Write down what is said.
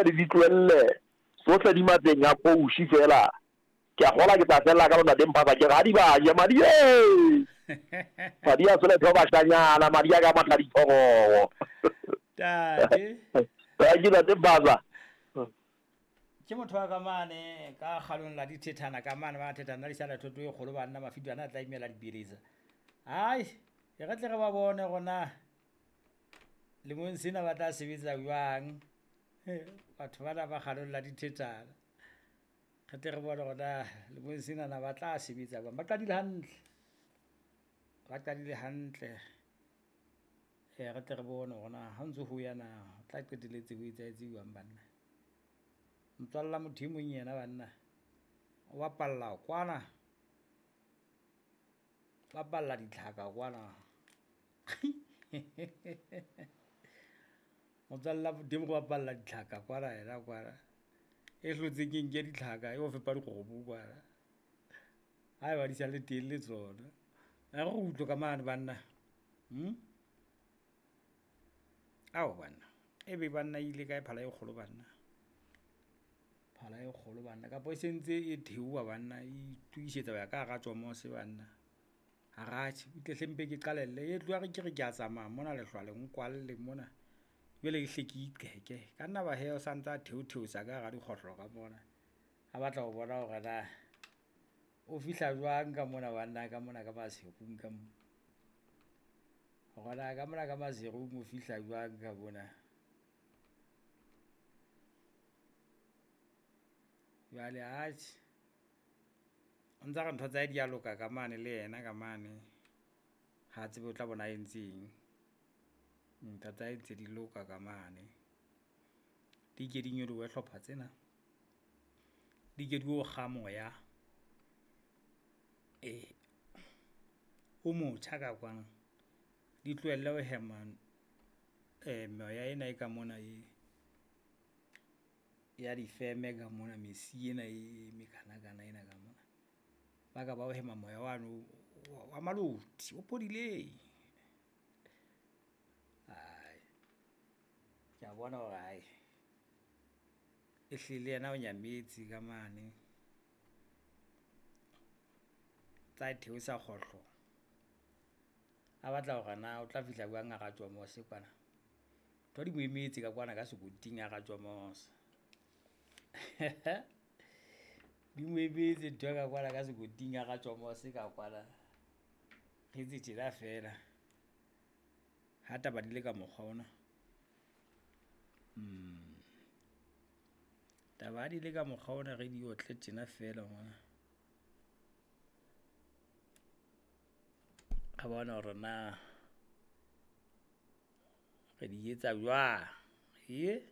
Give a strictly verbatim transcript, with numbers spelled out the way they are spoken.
di di tlohelle tsohle di matleng a kouši fela. Ke a kgolwa ke tla fella ka lona teng phasa ke re ha di ba je madi e madi a sole tho bashanyana madi a ka matla dithorogo. Tate. Ke ntate Phasa. Ke motho wa ka mane ka kgalong la dithethana ka mane ba thethana di sala thoto e kgolo banna mafidwana a tla imela dibirisa. Ai, e re tle re ba bone gona lemong sena ba tla sebetsa jwang. Batho bana ba kgalong la dithethana. Re tle re bone gona lemong sena na ba tla sebetsa jwang. Ba qadile hantle. Ba qadile hantle. E re tle re bone gona ha ntse ho ya na tla qetelletse ho etsahetse jwang banna. Motswalla motho e mong yena banna o bapalla kwana, bapalla ditlhaka kwana. Motswalla motho e mong o bapalla ditlhaka kwana yena kwana. E hlotseng ke nke ditlhaka e o fepa dikgomo kwana. Ha eba di sa le teng le tsona. A re utlwe ka mane banna. Hmm? Ao banna. Ebe banna ile kae phala e kgolo banna? Phala e kgolo banna kapo e sentse e theoha banna e itokisetsa ho ya ka hara tjomose banna. Haratjhe o tle hlempe ke qalelle e tloha re ke re ke a tsamaya mona lehlwa le nkwalle mona. Jwale ke hle ke iqeke. Ka nna ba he o santsa a theotheosa ka hara dikgohlo ka mona. A batla ho bona hore na o fihla jwang ka mona banna ka mona ka maserung ka mona. Hore na ka mona ka maserung o fihla jwang ka mona. Jwale atjhe o ntsa re ntho tsa hae di a loka ka mane le yena ka mane. Ha tsebe o tla bona a entseng. Ntho tsa hae ntse di loka ka mane. Di ke di nyolohe hlopha tsena. Di ke di o kga moya. E o motjha ka kwana. Di tlohelle ho hema eh moya ena e ka mona e ya difeme ka mona mesi ena e mekanakana ena ka mona. Ba ka ba o hema moya wano wa maloti o phodileng. Ai, ke a bona hore ai ehlile yena o nyametse ka mane. Tsa theosa kgohlo. A batla hore na o tla fihla jwang hara tjomose kwana. Ntho di mo emetse ka kwana ka sekoting hara tjomose. Di mo emetse ntho ka kwana ka sekoting hara tjomose ka kwana. Re etse tjena fela. Ha taba di le ka mokgwa ona. Hmm. Taba di le ka mokgwa ona re di otle tjena fela ngwana. Re bone hore na re di etsa jwang. Ye.